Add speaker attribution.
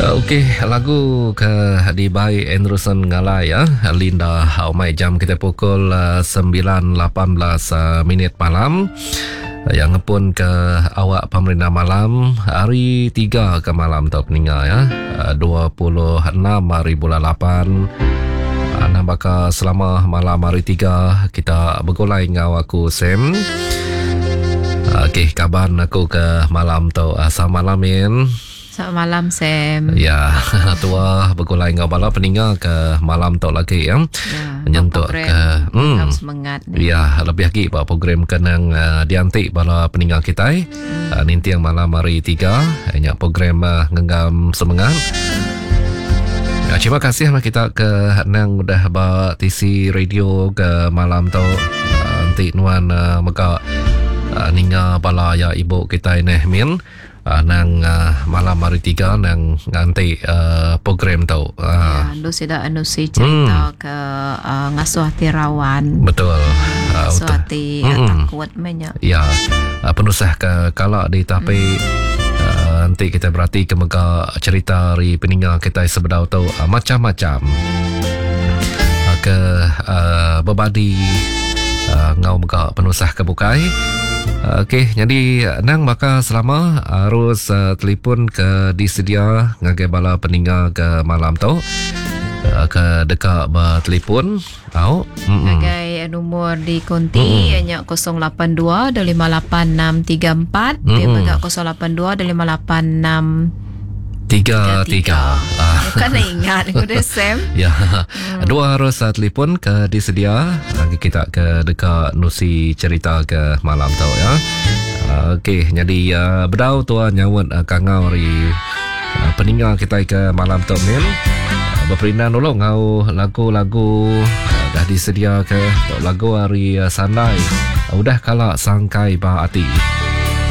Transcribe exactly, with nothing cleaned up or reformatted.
Speaker 1: Okey, lagu ke dibai Anderson Ngalai ya, Linda Omai, jam kita pukul sembilan lapan belas minit malam. Yang ngepun ke awak pemerintah malam hari tiga ke malam tu peninga ya, dua puluh enam hari bulan lapan. Nah, bakal selama malam hari tiga kita bergulai ngau aku Sam. Okey, kaban aku ke malam tu. Selamat malam Min.
Speaker 2: Selamat malam Sam.
Speaker 1: Ya, tua bergulai ngau bala peninga ke malam tu lagi ya.
Speaker 2: Ya,
Speaker 1: nyentuk ke
Speaker 2: hmm, semangat.
Speaker 1: Ya, lebih lagi ba program kenang uh, diantik bala peninga kita. Hmm. Uh, nintiang malam hari tiga nya program uh, ngenggam semangat. Ya, terima kasih lah kita ke nang udah ba T C radio ke malam tu. Uh, nanti nuan uh, mega uh, ninga bala ya ibu kita ni Min. Uh, nang uh, malam hari tiga nang nganti uh, program tu.
Speaker 2: Uh. Ya, lu sudah anusi cerita hmm. ke uh, ngasuh hati rawan.
Speaker 1: Betul.
Speaker 2: Uh, ngasuh hati hmm. takut banyak.
Speaker 1: Ya, uh, penusah ke kalak di tapi hmm. uh, nanti kita berarti ke mega cerita hari peninga kita sebedau tu uh, macam-macam. Uh, ke uh, berbadi uh, ngau mega penusah ke bukai. Okey, jadi nang maka selama harus uh, telefon ke disedia ngagai bala peninga ke malam tu. Uh, ke dekat bertelefon tau.
Speaker 2: Ngagai nombor di konti ianya kosong lapan dua dua lima lapan enam tiga empat, dia mega kosong lapan dua dua lima lapan enam
Speaker 1: tiga tiga.
Speaker 2: Bukan nak ingat aku dah Sam.
Speaker 1: Ya. Hmm. Dua harus uh, telefon ke disedia lagi kita ke dekat nusi cerita ke malam tu ya. Uh, Okey, jadi uh, bedau tua nyawat uh, kangau ri uh, peninga kita ke malam tu min. Uh, berperindan dulu ngau lagu-lagu uh, dah disedia ke tok lagu hari uh, Sandai. Uh, udah kalak sangkai ba hati.